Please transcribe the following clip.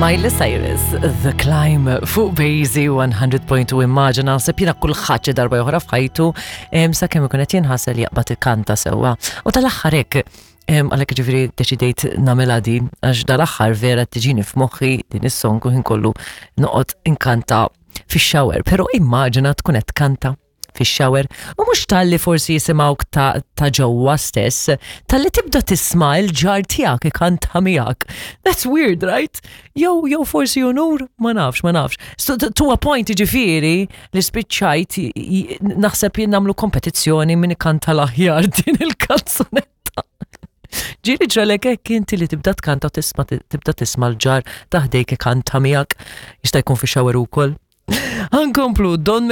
Miley Cyrus, The Climb, fuq Bazy 100.2. Immaġina, naħseb jiena kulħadd xi darba oħra f'ħajtu sakemm ikun qed jinħasel jaqbad ikanta sewwa. U tal-aħħar hekk, għalhekk ġifieri deċidejt nagħmilha din, għax dal-aħħar vera tiġini f'moħħi din is-song u ħin kollu noqgħod inkanta fix-shower, però immaġina tkun qed tkanta fix-shower u mhux talli forsi jisimgħuk ta', ta ġewwa stess, talli tibda tisma' il-ġar tiegħek ikanta miegħek. That's weird, right? Jew forsi unur, ma nafx, ma nafx. So, to a point ġifieri li spiċċajt naħseb jien nagħmlu kompetizzjoni min ikanta l-aħjar din il-kanzunetta. Ġieli ġralek hekk inti li tibda tkanta u tisma' tibda tisma' l-ġar taħdejk ikanta miegħek, jista' jkun fi shower ukoll. Ħankomplu Don.